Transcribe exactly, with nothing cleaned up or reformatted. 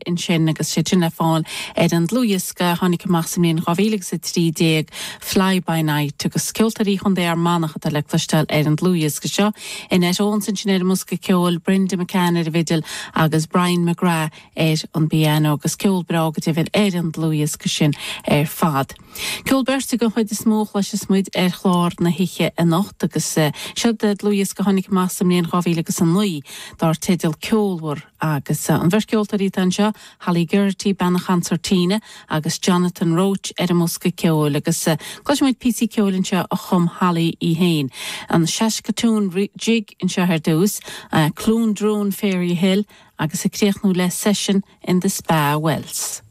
ansin agus sé sin le fáil ar an dlúthdhiosca tháinig amach sa mbliain dhá mhíle agus a trí déag Fly by Night agus ceoltóirí Chontae Fhear Manach atá le cloisteáil ar an dlúthdhiosca seo. Annette Owens ansin ar an mbosca ceoil, Brenda McCann ar an bhfidil agus Brian McGrath ar an bpianó agus ceol breá go deimhin ar an dlúthdhiosca sin ar fad. Ceol beirte den chuid is mó a chloisfeas muid ar chlár na hoíche anocht agus seo dlúthdhiosca tháinig amach sa mbliain dhá mhíle agus a naoi dar teideal Ceolmhar agus an bheirt ceoltóirí atá anseo, Holly Geraghty bean an chonsairtín agus Jonathan Roche ar an mbosca ceoil agus cloisfidh muid píosaí ceoil anseo a chum Holly í féin. An Saskatoon Jig anseo ar dtús, Cloondroon Fairy Hill agus ag críochnú le Session in the Spa Wells.